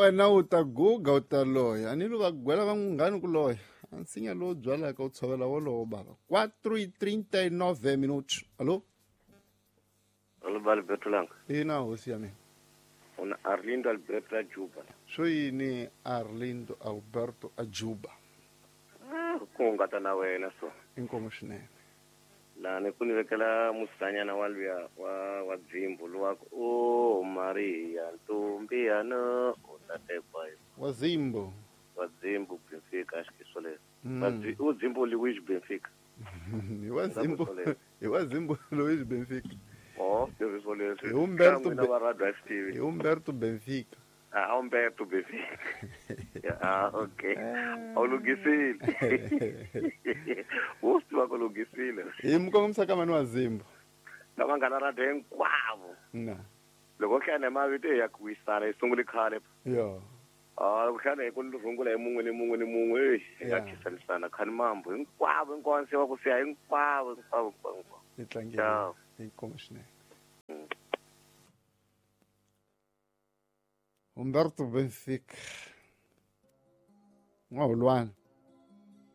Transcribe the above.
Wena u ta guga u ta loya. A ni lu va gwela va munghani ku loya. A nsinya lowu byalaka u tshovela wolowo bava. 4:39 minutos. Allo? Allo ba Alberto Langa. Ina hosi ya mina. Una Arlindo Alberto Ajuba. Swo yini Arlindo Alberto Ajuba? Ah, ku hungata na wena so. Inkomu swinene. Lani ku ni vekela musanyana wa luya wa wa dzimbu luwa ku o Maria ntombi ya no u ta tekwa hi Wa Zimbo. wa dzimbu Benfica acho que isso leswi. Mm. U dzimbu Luis Benfica. Hi wa Zimbo. Hi wa Zimbo Luis Benfica. Oh, leswi leswi. Hi Umberto N'wina va Radio FTV. Hi Umberto Benfica. Ah, Umberto Benfica. Ah, okay. A wu lunghisile. Wo swi tiva ku lunghisile. Hi mukongomisa ka mani wa Zimbo. Na vanghana radio hinkwavo. Na. Loko hlaya mavito ya ku wisana yi sungule khale. Yo. Ah, loko hlaya hi ku rungula hi mun'we ni mun'we ni mun'we, ey, hi nga Yeah. khisanisana khani mambo hinkwavo hinkwavo se va ku siya hinkwavo hinkwavo hinkwavo. hinkwavo. Hi tlangile. Ciao. Inkomu swinene. Umberto Benfica. N'waholwana.